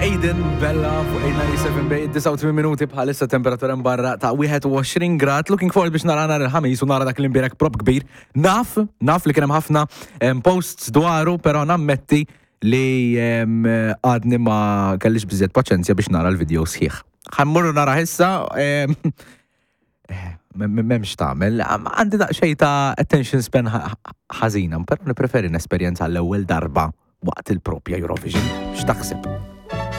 Aiden Bella fuq 897 bej 89 minuti bħalissa temperatura barra ta' 21 grad. Looking forward biex nara nhar il-ħamis u nara dak l-imbierek prop kbir. Naf, naf li kien hemm ħafna posts dwaru, però nammetti li għadni ma kellix biżżejjed paċenzja biex nara l-video sħiħ. Ħa mmur nara issa, m'hemmx tagħmel. Għandi daqsxejn ta' attention span ħażina, però nippreferi nesperjenza l-ewwel darba waqt il-propja Eurovision. X'taħseb?